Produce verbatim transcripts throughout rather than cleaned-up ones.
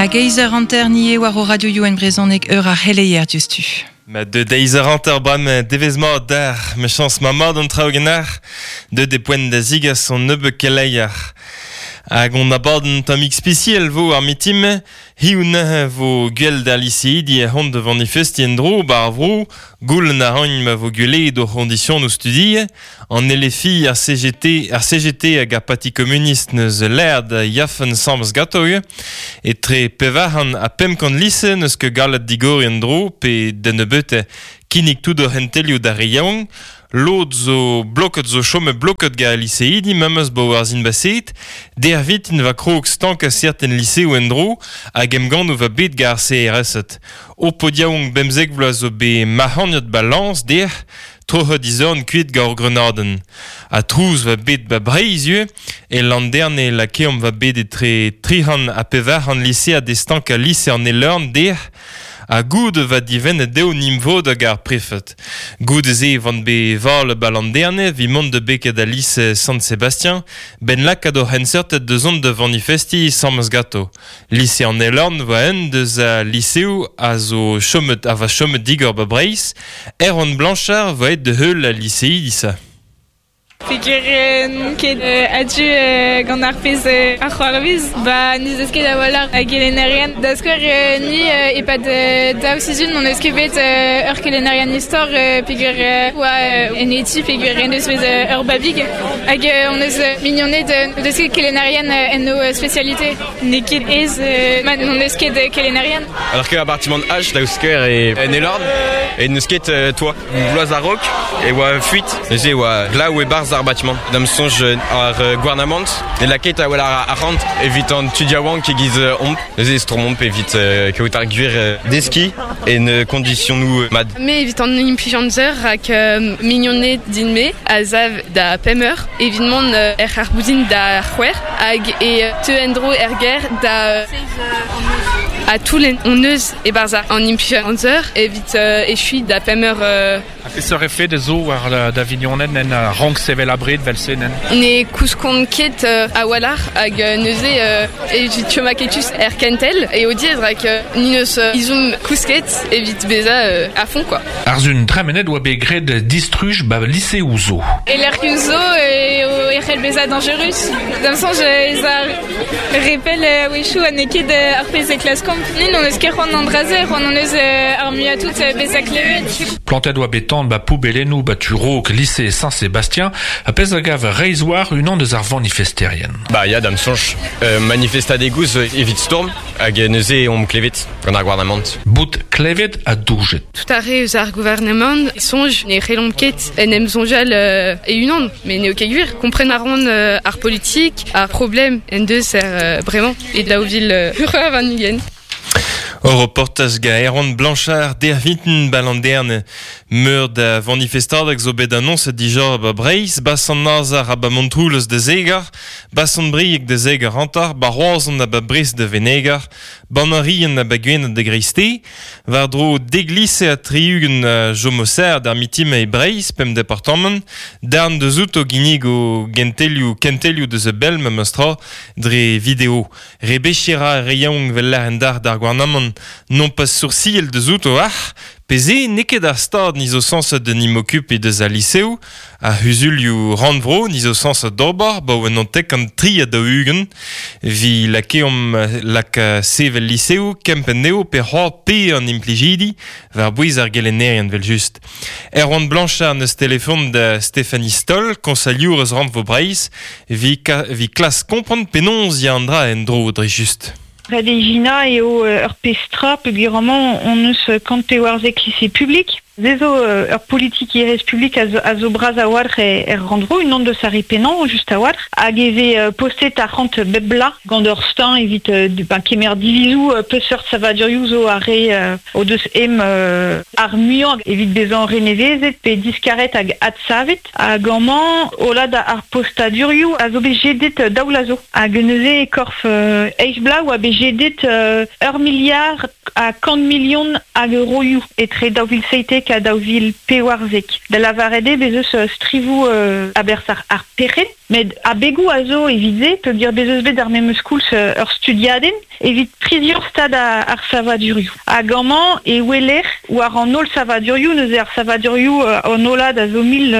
Hag eizh eur hanter nie war o radio youen brezhoneg eur ar c'heleier diouzhtu. Ma de deiz eur hanter bram devez mat d'ar, me chans ma mat an traoù ganeoc'h, deut e poent da zigas an nebeud keleier. Hag on abadenn tammig spesial vo ar mitim, hiziv neuze vo gwell d'ar liseidi e c'hont de manifesti en-dro ba ar vro, goulenn a raint ma vo gwelet o c'hondisionoù studi, an L F I, ar C G T, ar C G T hag ar Parti Communiste neus lâret yafen samz gato etre pevar-c'hant ha pemp kant lise neus ket gallet digoriñ en-dro pe da nebeutañ kinnig tout o c'hentelioù d'ar re yaouank. Lod zo bloket zo chome bloket ga liseidi memes bo war zin baset, der vitin va krog stank a certen liseoù en-dro hag emgannoù va bet ga ar C R S-et. O podiaouank bemzek vloaz zo bet mac'hagnet ba lañs der, troc'het izorn kuit ga ur grenadenn. Ha trouz va bet ba Breizh ivez, e Landerne lakeomp va bet etre tri-c'hant ha pevar-c'hant lisead e stank a lise an Elorn der, ha goud va divennet dezho nimvod hag ar prefet. Goud ze van be val ba Landerne vi mont de beket a lise Sant-Sébastien, ben lakaat o c'henseurted deus ont de manifesti samez gato. Lise an Elorn voa un deus a liseoù a zo chomet, a va chomet digor ba Breizh, Erwan Blanchard voa et de heul a liseidi disa. Peogwir n'on ket a-du gant ar pezh ar c'hoarvez, ba n'eus eus ket a-walc'h a gelennerien. Da skouer ni e-pad daou sizhun n'on eus ket bet ur kelennerien istor peogwir oa en eti peogwir en deus bet ur babig. Hag on eus mignoned deus ket kelennerien en o spécialité. N'eo ket aes ma n'on eus ket kelennerien. Alors que appartement H daou skouer e en Elorn e n'eus ket toi bloaz a-raok e oa fuit. Neuze oa glav e-barzh ar bâtiment. Da'm soñj ar gouarnamant e lakaet a wel ar arc'hant evit an tud yaouank e-giz omp. Neuze e stourmomp evit kaout ar gwir deskiñ en kondisionoù mat. Me evit an implijanzer rak mignoned din-me a sav da pemp eur evit mont er ar boudin da c'hwec'h hag e teu en-dro er gêr da a toulen on eus e-barzh an implijanzer evit echuiñ da pemp eur. A peseurt efed zo war da vignoned en rank sevel abred vel se nen? Ne kouskont ket a-walc'h hag neuze evit chom aketus er kentel e o diez rak ni neus izom kousket evit bezañ a fond quoi. Ar zun tremenet oa bet graet distruj ba liseoù zo. E lec'hioù zo e o c'hell bezañ dañjerus. Da'm soñj ez ar repel a-wechoù ha n'eo ket ar pezh e klaskomp. Ni n'on eus ket c'hoant an dra-se, c'hoant on eus ar muiañ tout bezañ klevet. Plantet oa bet tan ba poubellennoù ba tu-raok lycée Saint-Sébastien a pezh a gav reizh war unan deus ar vanifesterien. Ba ya da'm soñj manifestadegoù zo evit stourm hag neuze omp klevet gant ar gouarnamant. Bout klevet ha doujet. Tout ar re eus ar gouarnamant soñj ne c'hellomp ket en em soñjal e-unan, met n'eo ket gwir. Kompren a ran ar politik, ar problem en deus er bremañ e daou vil ur warn-ugent. O reportaj ga Erwan Blanchard der vinten balanderne meur da manifestadeg zo bet annoncet dija ba Breizh, ba Sant-Nazer ha ba Montroulez de Zegar, ba Sant-Brieg de Zegar hantar, ba Roazhon ha ba Brest de Venegar, ba Anarien ha ba Gwened de Greiste, war dro deg lise ha tri-ugent jomoser d'ar mitim e Breizh, pemp departamant, darn deus outo ginnig o gentelioù kentelioù deus e bel memes tra dre video. Rebechira re yaouank vel lâr en dar d'ar gouarnamant non pas sourciel deus outo ac'h, peze n'eo ket ar stad ni zo sañset de n'im okupe deus al liseoù, ar c'huzulioù rannvro ni zo sañset d'ober, ba oa an tek an tri ha daou-ugent, vi lakeomp lak sevel liseoù, kempenn eo pe c'hoar pe an implijidi, war bouez ar gelennerien vel just. Erwan Blanchard neus telefon da Stéphanie Stoll, konsaliour eus rannvro Breizh, vi, ka, vi klas kompren penaos ya an dra en-dro dre just. Red e Gina eo ur pestra peogwir amañ on eus kant pevarzek lycée public. Ze zo ur politikerezh publik a zo, a zo bras a-walc'h er rannvro, unan deus ar re pennañ just a-walc'h, hag e vez postet arc'hant bep bloaz gant ur steuñv evit ben, kemer divizoù peseurt savadurioù zo ar re o deus em ar muiañ evit bezañ renevezet pe diskaret hag adsavet. Hag amañ hollad ar postadurioù a zo bet jedet daou vloaz zo. Hag neuze e korf eizh bloaz oa bet jedet ur miliard ha kant milion hag euroioù etre daou vil seitek ha daou vil pevarzek. Da lavaret eo bez eus strivoù a-berzh ar, ar perc'henn, Met a begou a zo evit ze, peogwir bez eus bet ar memes koulz ur studiadenn, evit prizior stad a, ar savadurioù. Hag amañ e weler war an holl savadurioù, neuze ar savadurioù an hollad a zo mil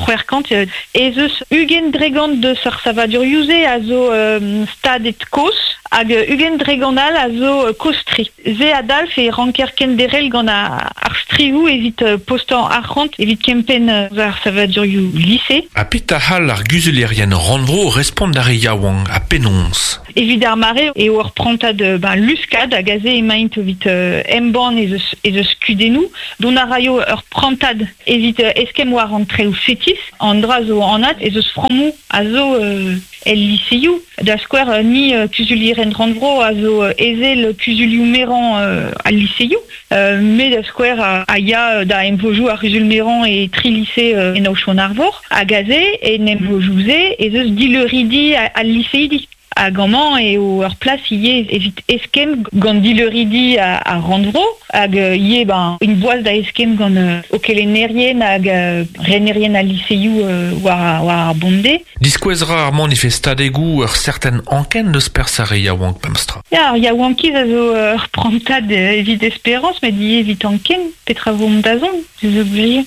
c'hwec'h kant, ez eus ugent dregant deus ar savadurioù-se a zo euh, stadet koz, hag ugent dregant all a zo koz-tre. Ze a dalf e ranker kenderel gant ar strivoù evit postañ arc'hant evit kempenn ar savadurioù lise. Ha petra c'hall ar guzulerien rannvro respont d'ar re yaouank ha penaos? Evit ar mare eo ur prantad ben, luskad hag aze emaint evit euh, embann ez eus, ez eus kudennoù, dont a raio ur prantad evit eskemm war an treoù fetis, an dra zo anat ez eus frammoù a zo euh, el liseioù. Da skouer ni euh, kuzulieren rannvro a zo ezel kuzulioù merañ euh, al liseioù, euh, me da skouer a, a ya da emvojoù ar kuzul merañ e tri lise euh, en aochon arvor, hag aze en emvojoù-se ez eus dileuridi al liseidi. Hag amañ eo ur plas ivez evit eskemm gant dileuridi a, a rannvro, hag ivez ben, un boaz da eskemm gant euh, o kelennerien hag euh, renerien al liseioù euh, war, war ar bonde. Diskouez ra ar manifestadegoù ur certain anken deus perzh ar re yaouank memestra. Ya, ar yaouankiz a zo ur prantad evit esperañs, met ivez evit anken, petra vo mont da zont, ez obligé.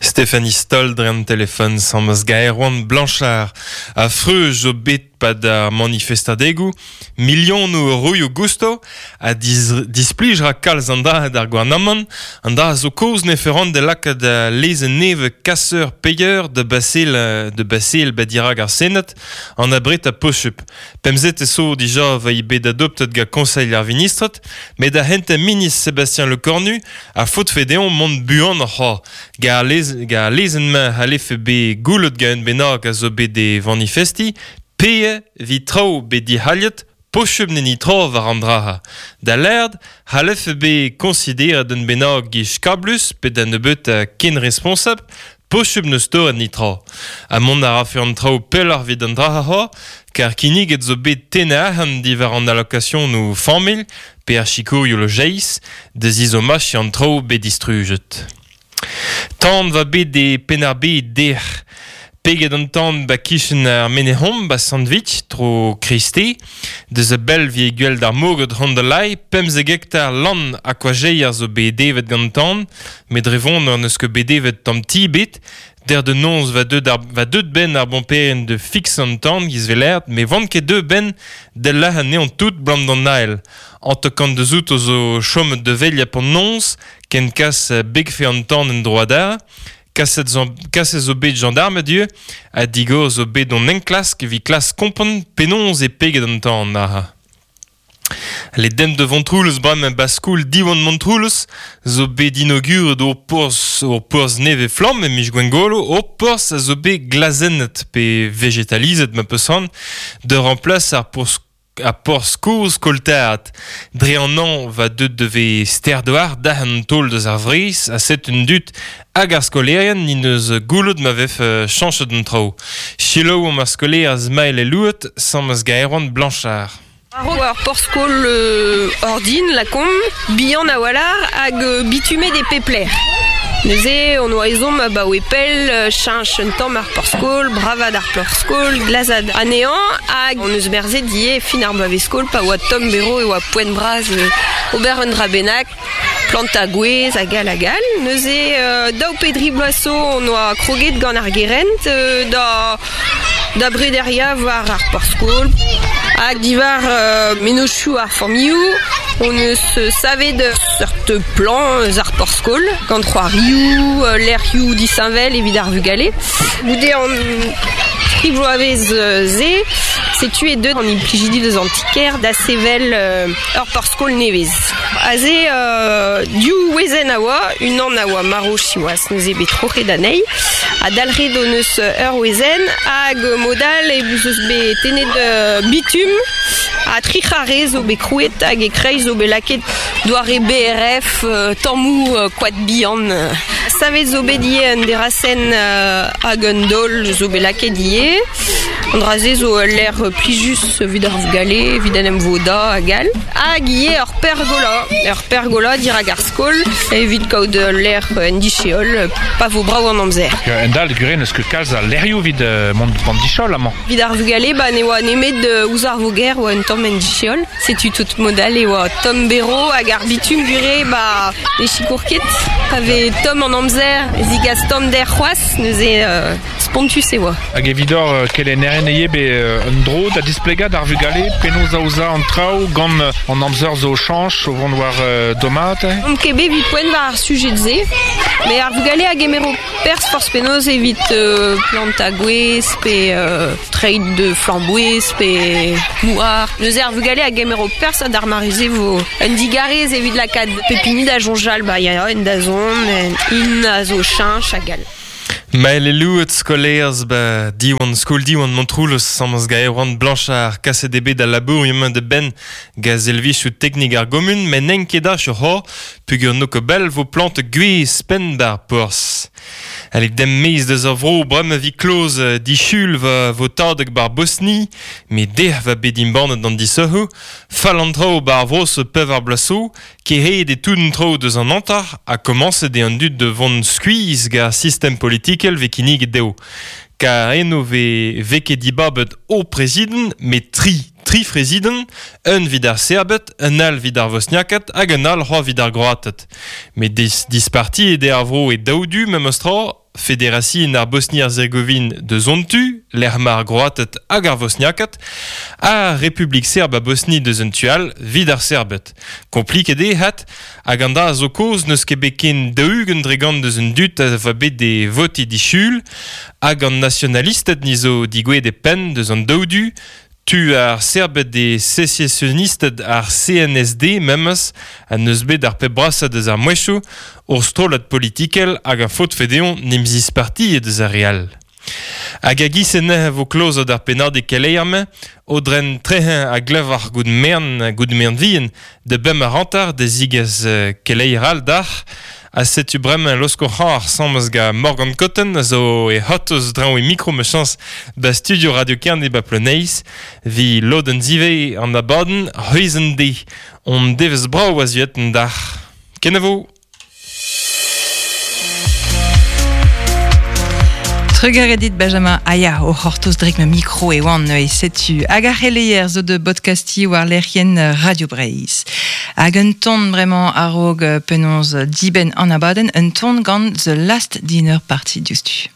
Stéphanie Stoll dre an telefon sammes Gaerwan Blanchard a freuz zo bet pad ar manifestadegoù, milionoù euroioù gusto a dis, displij ra kalz an dra d'ar gouarnamant, an dra zo koz ne ferant de lakaat lezenn neve kasseur payeur de basil de basil badirag ar Senat an abret a posup. Pemzet e so dija va i bet adoptet ga Conseil ar Ministret, met da hent ministre Sébastien Lecornu a faot fedeon mont buan ar c'hoar. Ga lez, ga lezenn-mañ a lefe bet goulet ga un bennak a zo bet de manifesti, pe vi traoù bet dic'hallet, pochub ne ni tra war an draha. Da lerd, c'hallefe bet konsideret un bennak giz kablus pe da nebeut ken responsab, pochub neus torret ni tra. Ha mont a rafe an traoù pelloc'h evit an draha c'hoar, kar kinniget zo bet tennañ arc'hant diwar an allokasionoù nou familh, pe ar sikourioù lojeiz, da zizomach an traoù bet distrujet. Tan va bet de Penn-ar-Bed dec'h. Peget an tan ba kichen ar menehom ba sandwich tro Christé, deus a bell vi gwell d'ar moged rondelai, pemzek hektar lan a koajeier zo bet devet gant tan, met drevon an eus ket bet devet tamm ti bet, der de nonz va deut, ar, va deut ben ar bomperen de fix an tan giz velert, me vant ket deu ben del lah an neon tout blam d'an nael. An te kant deus out zo chomet de velia pon nonz, ken kas begfe an tan en droit d'ar, kaset zo, kaset zo bet gendarme dieu, a digor zo bet on enklask vi klas kompon penonz e peget an tan aha. Les dem de Vontroulez brem baskoul diwan Montroulez zo bet inauguret o porzh o porzh neve flamm e mij gwengolo o porzh a zo bet glazennet pe vegetalizet ma peus de remplace ar porzh a porzh kozh koltaat. Dre an an va deut deve sterdoar da an taol deus ar vreiz a set un dut hag ar skolerien ni neus goulout ma vef chanchet an traoù. Chiloù am ar skoler az mael e louet sammes Gaerwan Blanchard. Ar porzh-skol euh, ordin, la kom, bihan a walar hag bitume des pepler. Neuze, on oa ezhomm a baoe pell, cheñch un tamm ar porzh-skol, bravad ar porzh-skol, glazad anezhañ, hag on eus merzet ivez fin ar bloavezh-skol pa oa tomm bero e oa poent bras ober un dra bennak, planta gwez hag all hag all. Neuze, euh, daou pe dri bloaz zo on oa kroget gant ar gerent euh, da, da brederia war ar porzh-skol. Hag diwar euh, mennozhioù ar familhoù, on eus savet seurt plan eus ar porzh-skol, gant c'hoarioù, lec'hioù disheñvel evit ar vugale. Goude an tri bloavezh se, setu e deut an implijidi deus an ti-kêr da sevel euh, ur porzh-skol nevez. Aze euh, div wezenn a oa, unan a oa maro siwazh neuze bet troc'het anezhi, ha dalc'het hon eus ur wezenn hag modal e eus bet tennet euh, bitum ha tri c'harre zo bet krouet hag e kreiz zo bet lakaet doare B R F, euh, tammoù euh, koad bihan. Savet zo bet ivez un derasenn euh, hag un daol zo bet lakaet ivez. An dra-se zo l'air plijus evit ar vugale, evit an em voda hag all. Hag ivez ur pergola, ur pergola dirak ar skol, evit kaout l'air en dicheol, pa vo brav an amzer. En dal, gure, neus ket kalz a lerioù evit mont an dicheol amañ. Evit ar vugale, ba ne oa nemet ouzh ar voger oa un tamm en dicheol. Setu tout modal e oa tomm bero hag ar bitum gure ba ne sikour ket. Pa vez tomm an amzer, zigas tomm der c'hoazh, neuze euh, spontus e oa. Hag evidor kelennerien eo be un dro da displegañ d'ar vugale penaos aozañ an traoù gant an amzer zo chañch o vont war euh, domat. On ket bet evit poent war ar sujet se, mais ar vugale a gemero perzh forzh penaos evit euh, plant a gwez, pe euh, treid de flamboez, pe mouar. Neuze ar vugale a gemero perzh ha d'ar marize vo un digarez evit lakaat pepini da jonjal, ba ya en da zon, en in a zo cheñch hag all. Mael louet skolaerz ba Diwan, skol Diwan Montroulez samaz ga Erwan Blanchard kaset eo bet al labour emañ de ben ga zelvichoù teknik ar gomun men n'en ket ach ur c'hor pugur no ket bell vo plant gwez penn bar porzh. Alek dem mez deus ar vro bremañ vi kloz dichul va vo tadeg bar Bosni me deh va bet imbannet d'an disoc'hoù fall an traoù bar vro se pev ar blasoù kehed e tout an traoù deus an antar a komañset eo an dud de vont skuizh ga sistem politikel ve kinniget dezho. Kar eno ve ve ket dibabet o prezident, met tri, tri prezident, un vid ar Serbed, un all vid ar Vosniaked hag un all c'hoazh vid ar Groated. Met dis, disparti eo ar vro e daou du memes tra, Federasion ar Bosni-Herzegovin deus on tu, lec'h ma ar Groated hag ar Vosniaked, ha Republik Serb a Bosni deus un tu all vid ar Serbed. Kompliket eo hat, hag an dra zo kaoz n'eus ket bet ken daou-ugent dre gant deus un dud a va bet de voti dichul, hag an nasionalisted ni zo digouezhet e penn deus an daou du, tu ar Serbed e sécessionisted ar C N S D memes a neus bet ar pep brasañ deus ar mouezhioù ur strollad politikel hag a faot fedeon n'em zisparti deus ar re all. Hag a giz en vo klozet ar pennad e keleier-mañ, o dren treheñ a glevar gout mern, gout mern vihan, de bem ar hanter de zigez keleier all d'ar, a setu bremañ losko c'har samez ga Morgan Cotten a zo e hotoz draoñ e mikro me chañs ba studio Radio Kerne ba Ploneis, vi lodenn zive an abadenn c'hwezh de. On devez brav a zuet an d'ar. Kenavo! Trugarez dit Benjamin Aya o c'hortoz drek ma mikro e oan e setu hag ar c'heleier zo de podcasti war lec'hienn Radio Breizh. Hag un ton bremañ a-raok penaos dibenn an abadenn, un ton gant The Last Dinner Party diouzhtu.